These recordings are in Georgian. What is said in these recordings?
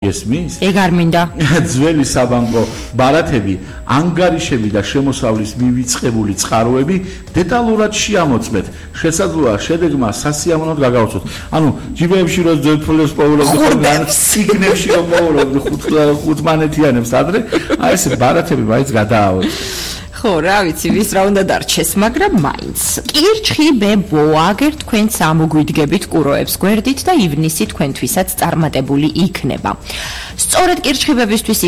ესმის? ეგ არ მინდა. ძველი საბანკო ბარათები, ანგარიშები და შემოსავლის მივიწყებული წყაროები დეტალურად შეამოწმეთ. შესაძლოა შედეგმა სასიამოვნოდ გაგაოცოთ. ანუ ჯიბეებში რო ძველფულებს პოულობთ, სიგნებში რო პოულობთ ხუთმანეთიანებს ადრე, აი ეს ბარათები მაინც გადააოთ. ხო, რა ვიცი, ვის რა უნდა დარჩეს, მაგრამ მაინც. კირჩხიბებო, აგერ თქვენც ამოგვიდგებით კუროებს გვერდით და ივნისი თქვენთვისაც წარმატებული იქნება. სწორედ კირჩხიბებისთვის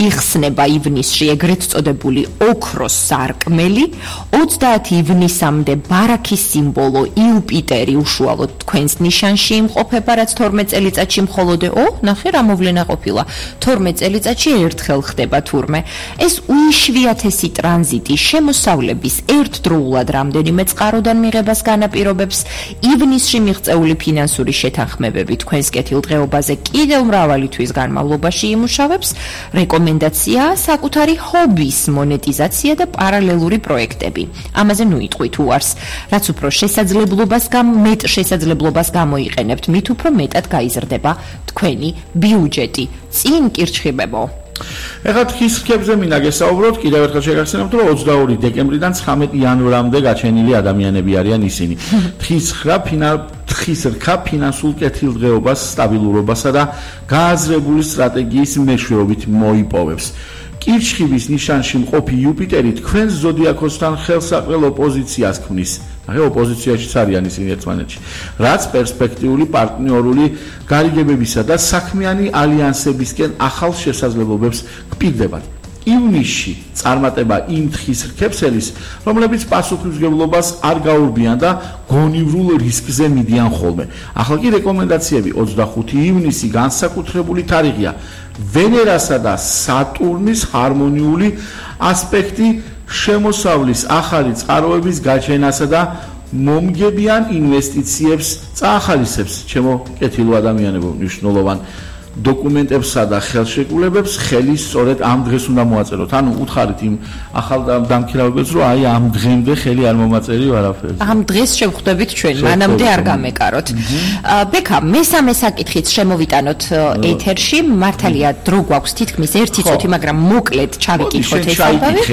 იხსნება ივნისში ეგრეთ წოდებული ოქროს სარკმელი, 30 ივნისამდე ბარაქის სიმბოლო იუპიტერი უშუალოდ თქვენს ნიშანში იმყოფება, რაც 12 წელიწადში მხოლოდ ნახე რა მოვლენა ყოფილა. 12 წელიწადში ერთხელ ხდება თურმე. ეს უიშვიათესი ტრანზიტი შემოსავლების ერთდროულად რამდენიმე წყაროდან მიღებას განაპირობებს. ივნისში მიღწეული ფინანსური შეთანხმებები თქვენს კეთილდღეობაზე კიდევ მრავალი თვის განმავლობაში იმუშავებს. რეკომენდაციაა საკუთარი ჰობის მონეტიზაცია და პარალელური პროექტები. ამაზე ნუ იტყვით უარს. რაც უფრო მეტ შესაძლებლობას გამოიყენებთ, მით უფრო მეტად გაიზრდება თქვენი ბიუჯეტი. წინ კირჩხიბებო. ეხლა თხის რქებზე მინდა გესაუბროთ, კიდევ ერთხელ შეგახსენებთ, რომ 22 დეკემბრიდან 19 იანვრამდე გაჩენილი ადამიანები არიან ისინი. თხის რქა ფინანსურ კეთილდღეობას, სტაბილურობასა და გააზრებული სტრატეგიის მეშვეობით მოიპოვებს. კირჩხიბის ნიშანში მყოფი იუპიტერი თქვენს ზოდიაქოსთან ხელსაყრელ ოპოზიციას ქმნის. ნახე, ოპოზიციაშიც არიან ისინი ერთმანეთში, რაც პერსპექტიული პარტნიორული გარიგებებისა და საქმიანი ალიანსებისკენ ახალ შესაძლებლობებს გპირდებათ. ივნისში წარმატება იმ თხის რქებსელის, რომლებიც პასუხისმგებლობას არ გაურბიან და გონივრულ რისკზე მიდიან ხოლმე. ახლა კი რეკომენდაციები 25 ივნისი განსაკუთრებული თარიღია. ვენერასა და სატურნის ჰარმონიული ასპექტი შემოსავლის ახალი წყაროების გაჩენასა და მომგებიან ინვესტიციებს წაახალისებს. ჩემო კეთილო ადამიანებო, მნიშვნელოვან დოკუმენტებსა და ხელშეკრულებებს ხელი სწორედ ამ დღეს უნდა მოაწეროთ. ანუ უთხარით იმ ახალ დამქირავებელს, რომ აი ამ დღემდე ხელი არ მომაწერიო არაფერზე. ამ დღეს შევხვდებით ჩვენ, მანამდე არ გამეკაროთ. ბექა, მესამე საკითხით შემოვიტანოთ ეთერში. მართალია დრო გვაქვს თითქმის 1 წუთი, მაგრამ მოკლედ ჩავიკითხოთ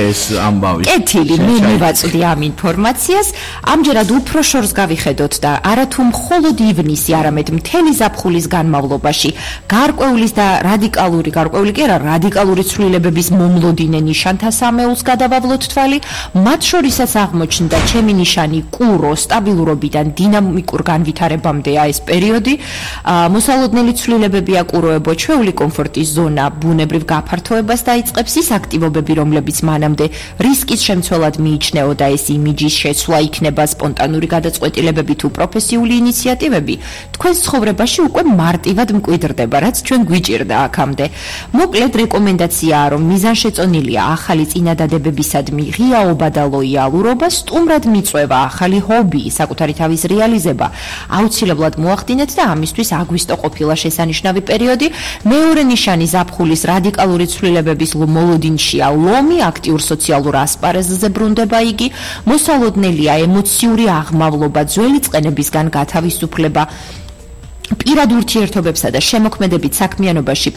ეს ამბავი. კეთილი, მე მივაწვდი ამ ინფორმაციას. ამჯერად უფრო შორს გავიხედოთ და არათუ მხოლოდ ივნისი, არამედ მთელი ზაფხულის განმავლობაში გარკვეულის და რადიკალური ცვლილებების მომლოდინე ნიშანთა სამეულს გადავავლოთ თვალი. მათ შორისაც აღმოჩნდა ჩემი ნიშანი კურო, სტაბილურობიდან დინამიკურ განვითარებამდეა ეს პერიოდი. მოსალოდნელი ცვლილებებია კუროებო, ჩვეული კომფორტის ზონა ბუნებრივ გაფართოებას დაიწყებს. ის აქტივობები, რომლებიც მანამდე რისკის შემცველად მიიჩნეოდა, ეს იმიჯის შეცვლა იქნება, სპონტანური გადაწყვეტილებები თუ პროფესიული ინიციატივები, თქვენს ცხოვრებაში უკვე მარტივად მკვიდრდება, რაც ჩვენ გვიჭირდა აქამდე. მოკლედ რეკომენდაციაა, რომ მიზანშეწონილია ახალი წინადადებებისადმი ღიაობა და ლოიალურობა, სტუმრად მიწვევა, ახალი ჰობი, საკუთარი თავის რეალიზება. აუცილებლად მოახდინეთ და ამისთვის აგვისტო ყოფილა შესანიშნავი პერიოდი. მეორე ნიშანი ზაფხულის რადიკალური ცვლილებების მოლოდინშია ლომი, აქტიურ სოციალურ ასპარეზზე ბრუნდება იგი. მოსალოდნელია ემოციური აღმავლობა, ძველი წყენებისგან გათავისუფლება. პირად ურთიერთობებსა და შემოქმედებით საქმიანობაში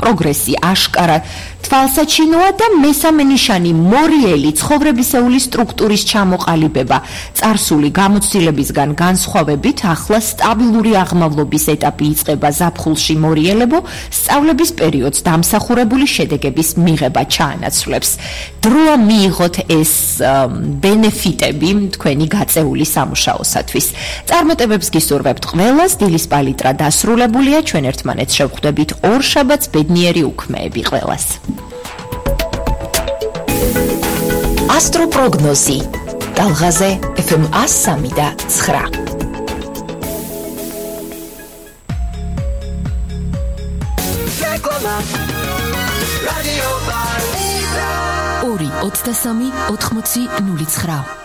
პროგრესი აშკარა თვალსაჩინოა და მესამე ნიშანი მორიელი ცხოვრებისეული სტრუქტურის ჩამოყალიბება. წარსული გამოცდილებისგან განსხვავებით ახლა სტაბილური აღმავლობის ეტაპი იწყება ზაფხულში მორიელებო, სწავლების პერიოდს დამსახურებული შედეგების მიღება ჩაანაცვლებს. დროა მიიღოთ ეს ბენეფიტები თქვენი გაწეული სამუშაოსათვის. წარმატებებს გისურვებთ ყველას. დილის პალიტრა დასრულებულია, ჩვენ ერთმანეთს შევხვდებით ორშაბათს, ბედნიერი უქმეები ყველას. ასტროპროგნოზი ტალღაზე FM 103.9. ორი 23 80 09